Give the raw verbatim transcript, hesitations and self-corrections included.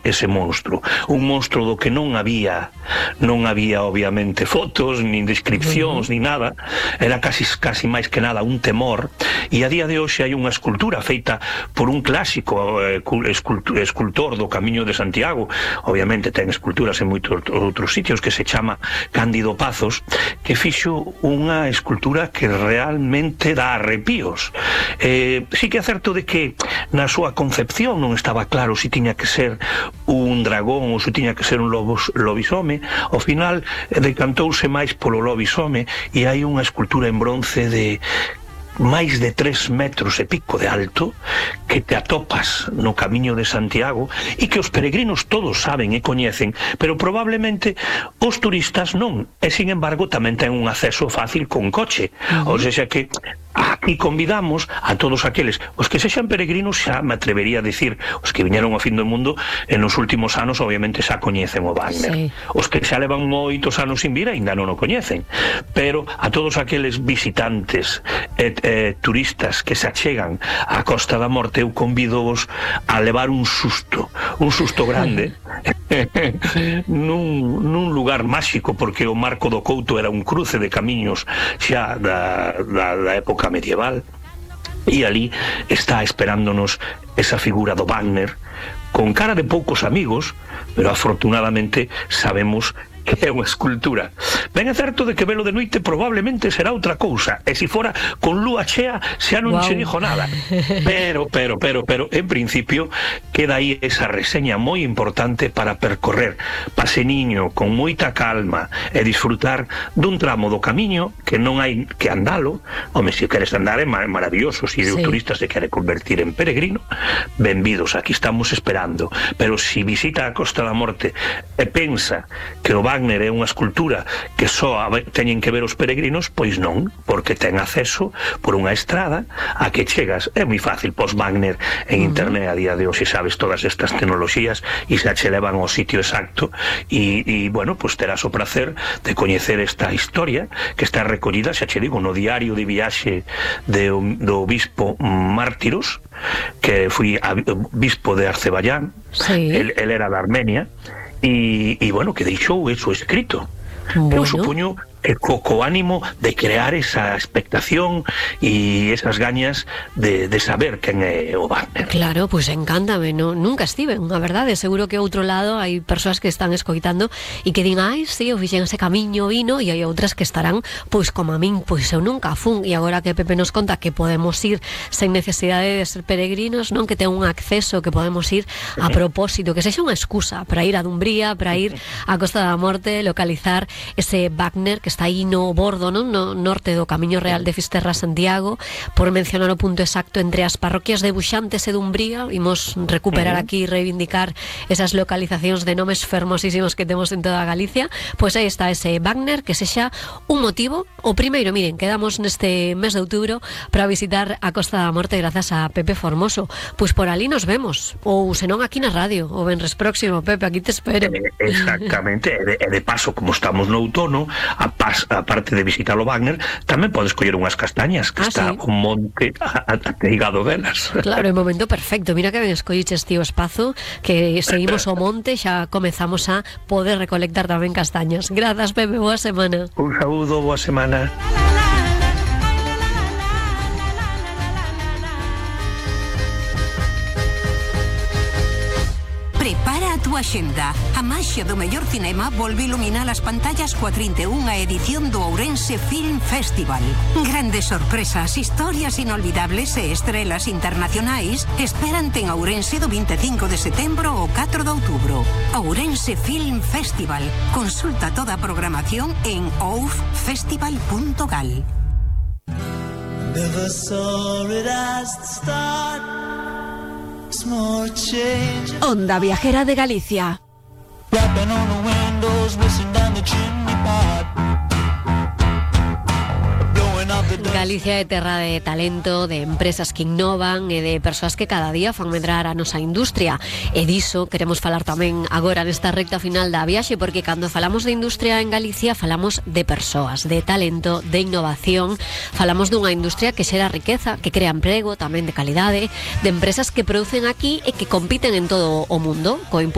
ese monstro, un monstro do que non había non había obviamente fotos, nin descripcións, uh-huh. nin nada, era casi, casi máis que nada un temor, e a día de hoxe hai unha escultura feita por un clásico eh, escultor, escultor do Camiño de Santiago, obviamente ten esculturas en moitos outros sitios, que se chama Cándido Pazos, que fixo unha escultura que realmente dá arrepíos. Eh, sí que é certo de que na súa concepción non estaba claro se tiña que ser un dragón ou se tiña que ser un lobos, lobisome. Ao final decantouse máis polo lobisome, e hai unha escultura en bronce de máis de tres metros e pico de alto que te atopas no Camiño de Santiago e que os peregrinos todos saben e coñecen, pero probablemente os turistas non, e sin embargo tamén ten un acceso fácil con coche. Uh-huh. Ou seja que aquí convidamos a todos aqueles os que sexan peregrinos, xa me atrevería a dicir, os que viñeron ao fin do mundo en os últimos anos obviamente xa coñecen o Wagner. Sí. Os que xa levan moitos anos sin vir aínda non o coñecen, pero a todos aqueles visitantes e eh, turistas que se achegan á Costa da Morte, eu convido-vos a levar un susto, un susto grande nun, nun lugar máxico, porque o Marco do Couto era un cruce de camiños xa da, da, da época medieval, e ali está esperándonos esa figura do Wagner con cara de poucos amigos, pero afortunadamente sabemos que é unha escultura. Ben é certo de que velo de noite probablemente será outra cousa, e se fora con lúa chea xa non wow. che dixo nada, pero, pero, pero, pero en principio queda aí esa reseña moi importante para percorrer paseniño con moita calma e disfrutar dun tramo do camiño que non hai que andalo. Home, se queres andar é maravilloso, se sí. o turista se quere convertir en peregrino, benvidos, aquí estamos esperando, pero se visita a Costa da Morte e pensa que o Wagner é unha escultura que só teñen que ver os peregrinos, pois non, porque ten acceso por unha estrada a que chegas. É moi fácil, pos Wagner en internet a día de hoxe, sabes todas estas tecnoloxías e xa che levan ao sitio exacto, e, e bueno, pois terás o placer de coñecer esta historia que está recollida, xa che digo, no diario de viaxe de, do obispo Mártiros, que foi bispo de Azerbaiyán. Sí. el, el era de Armenia, e, e bueno, que deixou eso escrito. Bueno. Eu supoño que co, co ánimo de crear esa expectación e esas gañas de, de saber quen é o Wagner. Claro, pois pues encántame, no, nunca estive, a verdade, seguro que outro lado hai persoas que están escoitando e que din, ai, si, eu fixen ese camiño vino, e hai outras que estarán, pois como a min, pois eu nunca fun, e agora que Pepe nos conta que podemos ir sen necesidade de ser peregrinos, non, que ten un acceso, que podemos ir a propósito, que sexa unha excusa para ir a Dumbría, para ir á Costa da Morte, localizar ese Wagner que está aí no bordo, non? No norte do Camiño Real de Fisterra a Santiago, por mencionar o punto exacto entre as parroquias de Buxantes e Dumbría. Imos recuperar aquí e reivindicar esas localizacións de nomes fermosísimos que temos en toda Galicia. Pois aí está ese Wagner, que sexa un motivo. O primeiro, miren, quedamos neste mes de outubro para visitar a Costa da Morte grazas a Pepe Formoso. Pois por ali nos vemos, ou senón aquí na radio, o venres próximo, Pepe, aquí te espero. Exactamente, e de, e de paso, como estamos no outono, a a parte de visitar o Wagner, tamén podes coller unhas castañas, que ah, está sí. un monte ateigado delas. Claro, é o momento perfecto. Mira que ben escolliches, tío Espazo, que seguimos o monte, xa comezamos a poder recolectar tamén castañas. Grazas, Pepe, boa semana. Un saúdo, boa semana. Prepara a túa xenda. A maxia do mellor cinema volve iluminar as pantallas coa trinta e unha edición do Ourense Film Festival. Grandes sorpresas, historias inolvidables e estrelas internacionais esperante en Ourense do vinte e cinco de setembro ao catro de outubro. Ourense Film Festival. Consulta toda a programación en ouf festival punto gal. Never saw it as the start. Onda Viajera de Galicia. Galicia é terra de talento, de empresas que innovan e de persoas que cada día fan medrar a nosa industria, e diso queremos falar tamén agora nesta recta final da viaxe, porque cando falamos de industria en Galicia falamos de persoas, de talento, de innovación, falamos dunha industria que xera riqueza, que crea emprego tamén de calidade, de empresas que producen aquí e que compiten en todo o mundo co impulso